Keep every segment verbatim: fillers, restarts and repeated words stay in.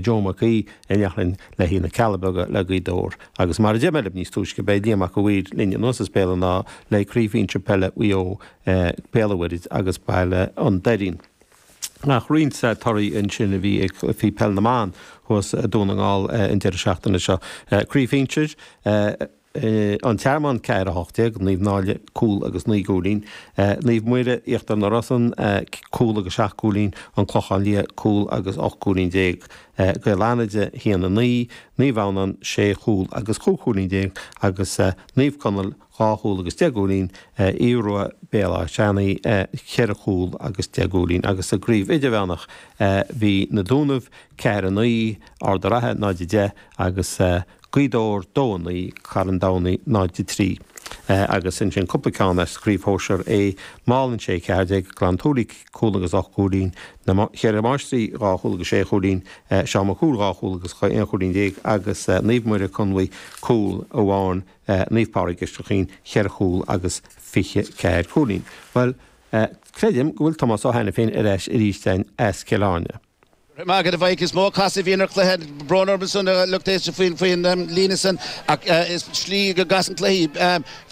Joe Mac Aoidh i nDeathleann le haghaidh na Cealla Beaga le Gaoth Dobhair agus mar a deir mé libh níos túisce beidh Liam Mac a' Mhaoir linn anuas as Béal an Átha le Craobh Shinsir Peile Mhaigh Eo Béal an Mhuirthead agus Baile an Doirín. Ach roinnt torthaí ansin a bhí ag faoi Peil na mBan thuas i Dún na nGall an deireadh seachtaine seo. Craobh Shinsir An Tearmann ceathair a hocht déag, Naomh Náille cúl agus naoi gcúilín, Naomh Muire Íochtar na Rosann cúl agus seacht gcúilín, An Clochán Liath cúl agus ocht gcúilín déag, Gaeil Fhánada a haon a naoi, Naomh Adhamhnáin sé chúl agus chúig chúilín déag agus Naomh Conaill dhá chúl agus deich gcúilín, Aodh Rua Béal Átha Seanaidh ceithre chúl agus deich gcúilín agus sa gcraobh idirmheánach bhí Na Dúnaibh ceathair a naoi, Ard an Rátha náid a deich agus Gaoth Dobhair dó a naoi, Carn Domhnaigh náid a trí. Agus ansin cúpla ceann as Craobh Shóisear A, Málainn sé ceathair déag, Gleann tSúilí cúl agus ocht gcúilín, Na Ceithre Máistrí dhá chúl agus sé chúilín, Seán Mac Cumhaill dhá chúl agus aon chúilín déag agus Naomh Muire Conmhaigh cúl amháin, Naomh Pádraig Isteach Chaoin cheithre chúl agus fiche ceathair cúilín. Bhuel, creidim go bhfuil Tomás Ó hAiniféin ar ais arís againn as Cill Airne. Go raibh maith agat a Mhaidhc. Is mó casadh a bhíonn ar chluiche. Brón orm ansan a lucht éisteachta faoin líne san ach is slí go gcasann cluichí.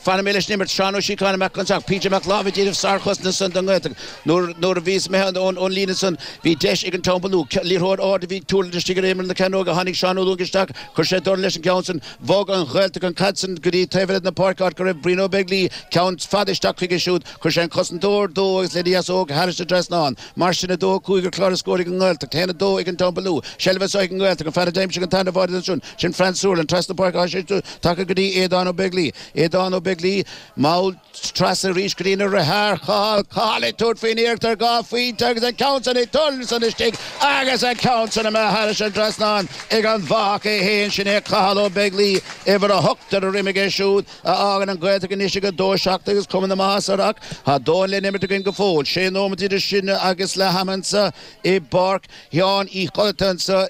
Fanfaidh mé leis an imirt. Seán Ó Síocháin amach anseo. PJ Mac Láimh ag déanamh sárchosaint ansan don nGaeltacht. Nuair a bhíos imithe ón líne san bhí deis ag an Teampall Nua. Liathróid ard a bhí ag tuirlingt istigh ar imeall na cearnóige. Tháinig Seán Ó Lúing isteach. Chuir sé dorn leis an gceann san. Bhog an Ghaeltacht an chaid san go dtí taobh eile de na páirce áit go raibh Brian Ó Beaglaoi. Ceann fada isteach chuige siúd. Chuir sé an cosantóir dó agus lena dheasóg thairis an trasnán. Mar sin, a dó a cúig ar chlár na scór ag an nGaeltacht, a haon a dó ag an Teampall Nua. Seilbh anseo ag an nGaeltacht, an fear a d'aimsigh an tarna bháide ansin, sin Franz Seuerland, trasna páirce tá sé tagtha go dtí Aodán Ó Beaglaoi. Aodán Ó Beaglaoi, mall trasna arís go dtí a dheartháir Cathal, Cathal ag tabhairt faoin iarracht ar dhá phointe agus an ceann san ag tuirlingt ansan istigh agus an ceann san imithe thairis an trasnán ag an bhfathach é féin, sin é Cathal Ó Beaglaoi, uimhir a hocht ar a dhroim aige siúd. a fhágann an Ghaeltacht anois ag a dó seacht agus cuma na maitheasa orthu ach tá dóthain le n-imirt againn go fóill. Sé nóimeat idir sinne agus leath ama anseo i bPáirc Sheáin Uí Chodlata anseo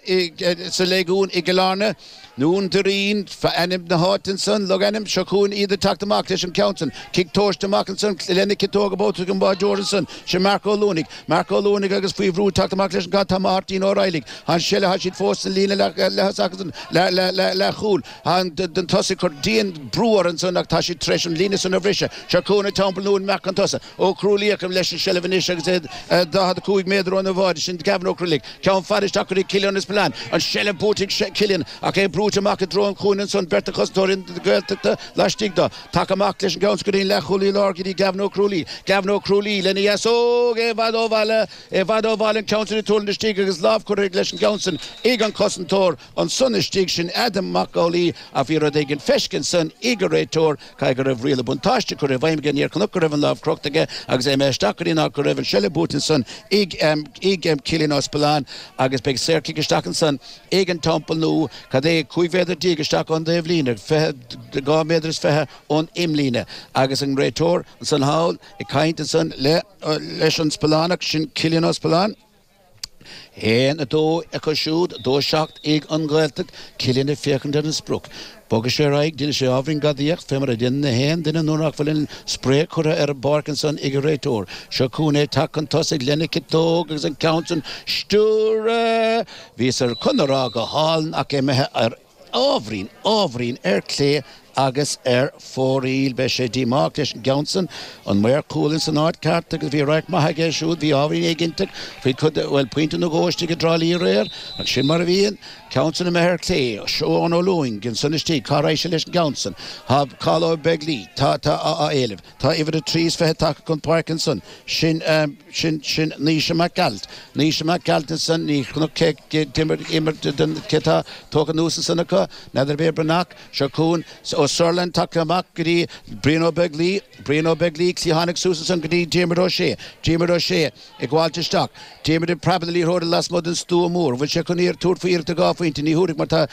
sa Léigiún i gCill Airne. Dún Doirín ainm na háite ansan, logainm. Seo chugainn iad ag teacht amach leis an gceann san. Cic tomhaiste amach ansan lena ciotóg a buaite ag an báideoir ansan. Sin Marc Ó Luanaigh. Marc Ó Luanaigh agus faoi bhrú ag teacht amach leis an gcaid tá Máirtín Ó Raghallaigh. Tá an seilbh, tá siad fós sa líne leath-thosach ansan, leath-chúil. Tá an tosaí ag cur dian brú orthu ansan ach tá siad tar éis an líne san a bhriseadh. Seo chugainn an Teampall Nua amach chun tosaigh. Ó Crualaoich leis an seilbh anois agus é daichead a cúig méadar óna bháide. Sin Gavin Ó Crualaoich. Ceann fada isteach go dtí Cillian Spillane. An seilbh buaite ag Cillian ach é brúite amach i dtreo an chúinne ansan. Beirt de chosantóirí na Gaeltachta laistigh dó. Tagtha amach leis an gceann san go dtí an leathchúlaí láir go dtí Gavin Ó Crualaoich. Gavin Ó Crualaoich lena dheasóg é i bhfad ó bhaile. I bhfad ó bhaile an ceann san ag tuirlingt istigh agus lámh curtha leis an gceann san ag an cosantóir. Ansan istigh sin Adam Mac Amhlaigh ach bhí rud éigin feiscithe ansan ag an réiteoir, caithfidh go raibh riail an buntáiste curtha i bhfeidhm aige, níor chonac go raibh an lámh crochta aige agus é imithe isteach go dtí an áit go raibh an seilbh buaite ansan ag Cillian Ó Spealáin agus beidh saorchic isteach ansan ag an Teampall Nua, cad é, cúig mhéadar déag isteach ón dtaobhlíne, fiche, dhá mhéadar is fiche ón imlíne agus an réiteoir ansan thall ag caint ansan leis an Spealánach sin Cillian Ó Spealáin. Haon, a dó acu siúd, dó seacht ag an nGaeltacht, Cillian ag féachaint ar an sprioc. Bogfaidh sé ar aghaidh, déanfaidh sé ábhairín gadaíocht, fé mar a dhéanann na haon duine nuair nach bhfuil an spré curtha ar an bpáirc ansan ag an réiteoir. Seo chugainn é ag teacht chun tosaigh lena chiotóg agus an ceann san stiúrtha! Bhíos ar chun a rá go hálainn ach imithe ar ábhairín, ábhairín ar clé agus ar fóraoil. Beidh sé díomách leis an gceann san. An maor cúil ins an áit ceart agus bhí radharc maith aige siúd. Bhí ábhairín éiginnte faoi chuid, bhuel, pointe nó dhó istigh i dTrá Lí aréir. Ach sin mar a bhíonn. Ceann san imithe ar clé. Seán Ó Lúing ansan istigh. Cá raghaidh sé leis an gceann san? Tá Cathal Ó Beaglaoi. Tá, tá á éileamh. Tá uimhir a trí is fiche tagtha chun páirce ansan. Sin, sin, sin Naoise Mac Gearailt. Naoise Mac Gearailt ansan, ní chonac cé, cé d'imir, imir den, cé tá tógtha anuas ansan acu, n'fheadar ab é Breathnach. Seo chugainn Ó Seirealáin tagtha amach go dtí Brian Ó Beaglaoi, Brian Ó Beaglaoi, cliathánach suas ansan go dtí Diarmuid Ó Sé, Diarmuid Ó Sé ag gabháilt isteach. Diarmuid ag preabadh na liathróide lasmuigh den stua mór. An bhfuil sé chun iarracht tabhairt faoi iarracht ar dhá phointe? Ní thabharfaidh mar tá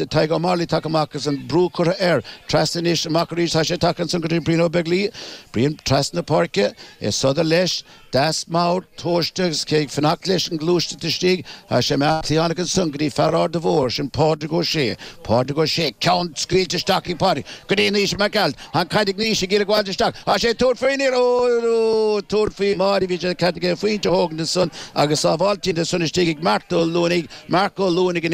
Tadhg Ó Mairligh tagtha amach agus an brú curtha air. Trasna anois, amach arís, tá sé tagtha ansan go dtí Brian Ó Beaglaoi. Brian trasna na páirce, é sodar leis, deas mall, tomhaiste agus é ag fanacht leis an ngluaisteacht istigh. Tá sé imithe cliathánach ansan go dtí fear Arda Mhóir, sin Pádraig Ó Sé. Pádraig Ó Sé, ceann scaoilte isteach ag Pádraig. Pádraig go dtí Naoise Mac Gearailt an caid ag Naoise ag iarraidh gabháil isteach Tá sé tabhairt faoin ó tabhairt faoi Máire bhí sé cad faointe thógan san agus sábháilte san istigh ag Marc Ó Luanaigh Marc Ó Luanaigh.